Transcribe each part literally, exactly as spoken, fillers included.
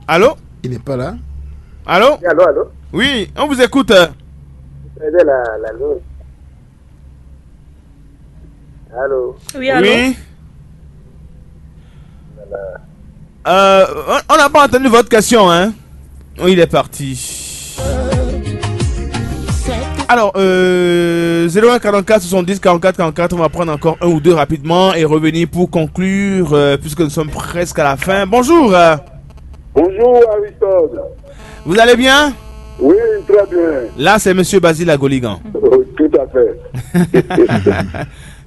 Allô? Il n'est pas là. Allô? Oui, allô, allô? Oui, on vous écoute. Vous avez la, la ligne. Allô? Oui, allô? Oui. Euh, on on n'a pas entendu votre question, hein? Oui, il est parti. Alors, euh, zéro un quarante-quatre soixante-dix quarante-quatre quarante-quatre, on va prendre encore un ou deux rapidement et revenir pour conclure, euh, puisque nous sommes presque à la fin. Bonjour. Euh, Bonjour Aristote. Vous allez bien? Oui, très bien. Là, c'est Monsieur Basile Agoligan. Oui, tout à fait.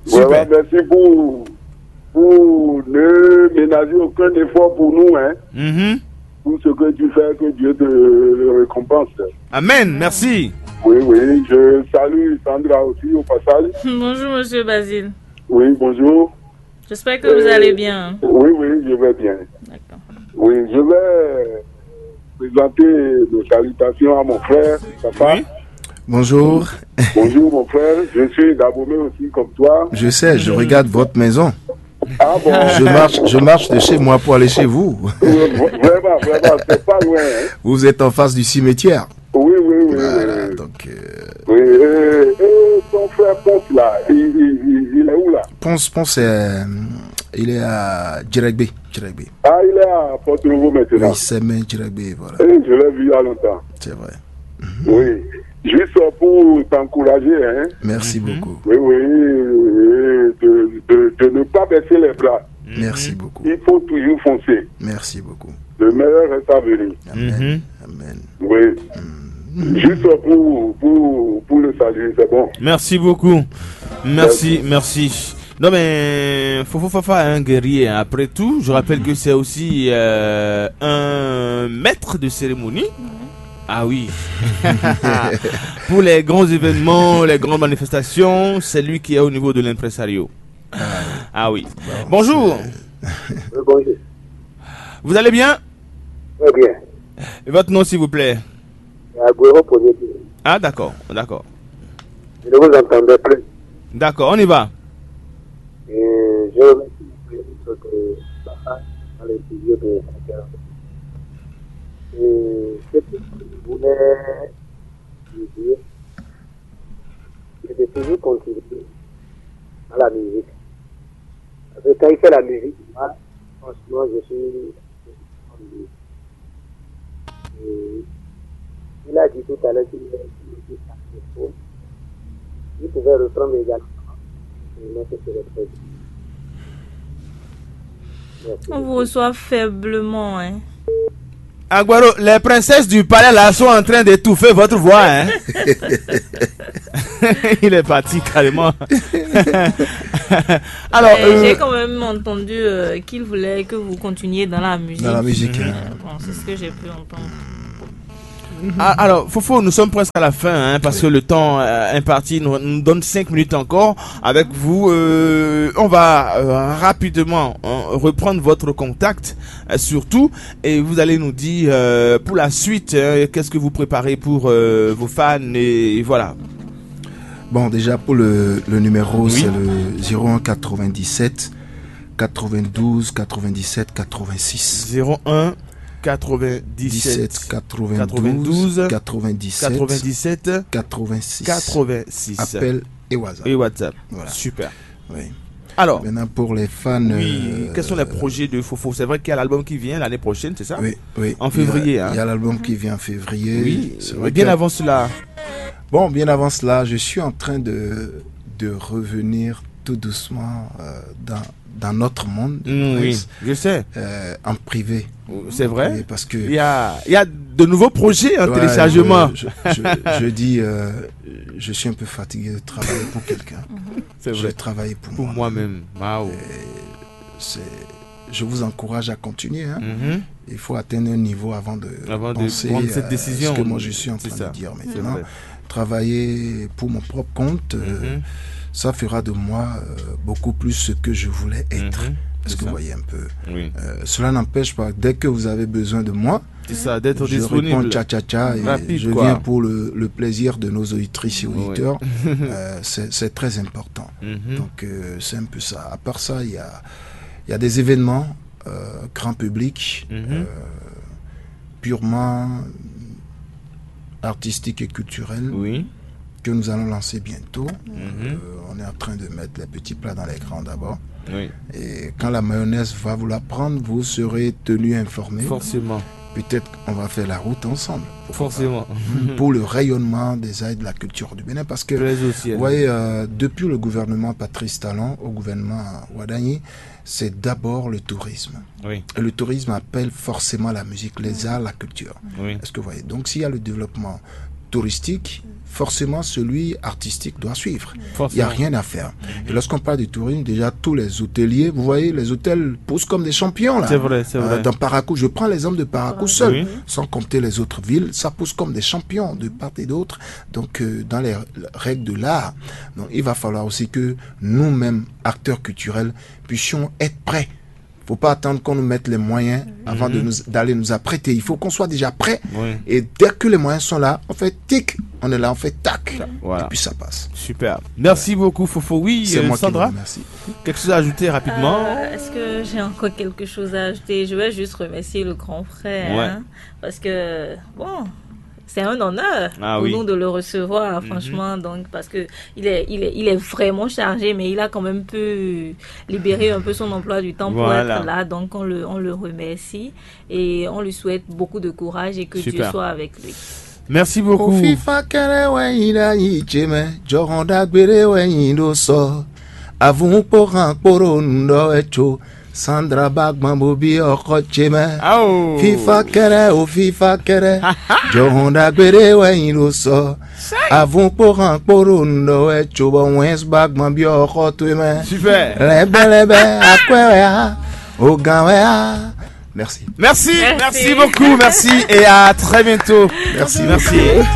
Super. Vraiment, merci pour, pour ne ménager aucun effort pour nous, hein. Mhm. Tout ce que tu fais, que Dieu te récompense. Amen, merci. Oui, oui, je salue Sandra aussi au passage. Bonjour, Monsieur Basile. Oui, bonjour. J'espère que vous allez bien. Oui, oui, je vais bien. D'accord. Oui, je vais présenter mes salutations à mon frère, papa. Oui. Bonjour. Bonjour mon frère, je suis d'Abomey aussi comme toi. Je sais, je regarde votre maison. Ah bon? Je marche, je marche de chez moi pour aller chez vous. Vraiment, vraiment, c'est pas loin, hein. Vous êtes en face du cimetière. Oui, oui, oui. Voilà, oui, oui, donc, euh, oui, et, et ton frère Ponce là, il, il, il, il est où là? Ponce, Ponce, euh, il est à Djeregbé, Djeregbé. Ah, il est à Porto Novo maintenant. Oui, c'est même Djeregbé, voilà. Eh, je l'ai vu il y a longtemps. C'est vrai. Oui. Juste pour t'encourager, hein. Merci beaucoup. Oui, oui, oui, de, de, de ne pas baisser les bras. Merci beaucoup. Il faut toujours foncer. Merci beaucoup. Le meilleur reste à venir. Amen. Amen. Oui. Juste pour, pour, pour le saluer, c'est bon. Merci beaucoup. Merci, merci. Non mais Fofo Fafa est un guerrier, hein. Après tout, je rappelle que c'est aussi euh, un maître de cérémonie. Ah oui. Pour les grands événements, les grandes manifestations, c'est lui qui est au niveau de l'impresario. Ah oui. Bonjour. Oui, bonjour. Vous allez bien? Très bien. Et votre nom, s'il vous plaît? Agüero Poyetin. Ah, d'accord, d'accord. Je ne vous entendais plus. D'accord, on y va. Et je remercie le ministre de Papa dans les studios de Sahel. Et ce que je voulais lui dire, c'est de toujours continuer dans la musique. Parce que quand il fait la musique, moi, franchement, je suis. Et il a dit tout à l'heure qu'il est qu'il était saxophone. Il pouvait reprendre également. Et moi, c'est ce que je fais. Merci. On vous reçoit faiblement, hein. Aguero, les princesses du palais là sont en train d'étouffer votre voix, hein. Il est parti carrément. Alors, euh, j'ai quand même entendu euh, qu'il voulait que vous continuiez dans la musique. Dans la musique, hein. Euh, bon, c'est ce que j'ai pu entendre. Ah, alors, Fofo, nous sommes presque à la fin, hein, parce que le temps euh, imparti nous, nous donne cinq minutes encore avec vous. Euh, on va euh, rapidement euh, reprendre votre contact, euh, surtout, et vous allez nous dire euh, pour la suite, hein, qu'est-ce que vous préparez pour euh, vos fans, et, et voilà. Bon, déjà pour le, le numéro, oui, c'est le zéro un quatre-vingt-dix-sept quatre-vingt-douze quatre-vingt-dix-sept quatre-vingt-six. Zéro un quatre-vingt-dix-sept quatre-vingt-douze quatre-vingt-dix-sept quatre-vingt-six. Appel et WhatsApp. Et WhatsApp. Voilà. Super. Oui. Alors, maintenant pour les fans, oui, euh, quels sont les projets de Fofo? C'est vrai qu'il y a l'album qui vient l'année prochaine, c'est ça? Oui, oui. En février, il y a, hein? Il y a l'album qui vient en février. Oui, c'est vrai, bien que avant cela. Bon, bien avant cela, je suis en train de, de revenir tout doucement euh, dans, dans notre monde, mm, oui, je sais, euh, en privé. C'est vrai. Parce que il y a, il y a de nouveaux projets en, ouais, téléchargement. Je, je, je, je dis, euh, je suis un peu fatigué de travailler pour quelqu'un. C'est vrai. Je travaille pour moi-même. Pour moi-même. Waouh. C'est, je vous encourage à continuer, hein. Mm-hmm. Il faut atteindre un niveau avant de, avant de penser prendre cette décision, à ce que moi je suis en train de dire maintenant. Travailler pour mon propre compte, euh, mm-hmm, ça fera de moi euh, beaucoup plus ce que je voulais être. Mm-hmm. Est-ce que vous voyez un peu? Oui. Euh, cela n'empêche pas, dès que vous avez besoin de moi, c'est ça, d'être disponible. Je réponds tcha tcha tcha et rapide, je viens pour le, le plaisir de nos auditrices et auditeurs. Euh, c'est, c'est très important. Mm-hmm. Donc, euh, c'est un peu ça. À part ça, il y a, il y a des événements euh, grand public. Mm-hmm. Euh, purement artistique et culturel Oui. que nous allons lancer bientôt. Euh, on est en train de mettre les petits plats dans les grands d'abord. Oui. Et quand la mayonnaise va vouloir prendre, vous serez tenu informé. Forcément. Peut-être on va faire la route ensemble. Forcément. Pour le rayonnement des arts et de la culture du Bénin. Parce que, Plaise au ciel. Vous voyez, euh, depuis le gouvernement Patrice Talon au gouvernement Wadagni, c'est d'abord le tourisme. Oui. Et le tourisme appelle forcément la musique, les arts, la culture. Oui. Est-ce que vous voyez ? Donc, s'il y a le développement touristique, forcément celui artistique doit suivre. Il n'y a Forcément. Rien à faire. Et lorsqu'on parle du tourisme, déjà tous les hôteliers, vous voyez, les hôtels poussent comme des champions là. C'est vrai, c'est Euh, vrai. Dans Parakou, je prends l'exemple de Parakou seul, Oui. Sans compter les autres villes, ça pousse comme des champions de part et d'autre. Donc, euh, dans les règles de l'art, donc, il va falloir aussi que nous-mêmes, acteurs culturels, puissions être prêts. Faut pas attendre qu'on nous mette les moyens avant de nous, d'aller nous apprêter. Il faut qu'on soit déjà prêt. Oui. Et dès que les moyens sont là, on fait tic, on est là, on fait tac. Voilà. Et puis ça passe. Super. Merci beaucoup, Fofo. Oui, C'est euh, moi qui vous Sandra, remercie. Quelque chose à ajouter rapidement ? Euh, Est-ce que j'ai encore quelque chose à ajouter ? Je vais juste remercier le grand frère. Ouais. Hein, parce que, bon, c'est un honneur Ah pour oui. Nous de le recevoir, franchement. Donc, parce que il est, il, est, il est vraiment chargé, mais il a quand même pu libérer un peu son emploi du temps Voilà. Pour être là. Donc, on le, on le remercie et on lui souhaite beaucoup de courage et que Dieu Super. Soit avec lui. Merci beaucoup. Ofifa kɛnɛ wɛ nyi ɖe ayi ce mɛ, jɔhɔn ɖagbe ɖe wɛ nyi ɖo sɔ. Avun kpo han kpo ɖo nu ɖɔ wɛ tso. Sandra ba gbɔn bo bi ɔkɔ ce mɛ. Ao. Fifa kɛnɛ o fifa kɛnɛ. Jɔhɔn ɖagbe ɖe wɛ nyi ɖo sɔ. Avun kpo han kpo ɖo nu ɖɔ wɛ tso bɔ wɛn ba gbɔn bi ɔkɔ towe mɛ. Super. Lɛbɛlɛbɛ akwɛ wɛ a, ogan wɛ a. Merci. Merci, merci, Merci. Beaucoup, merci et à très bientôt. Merci. Merci.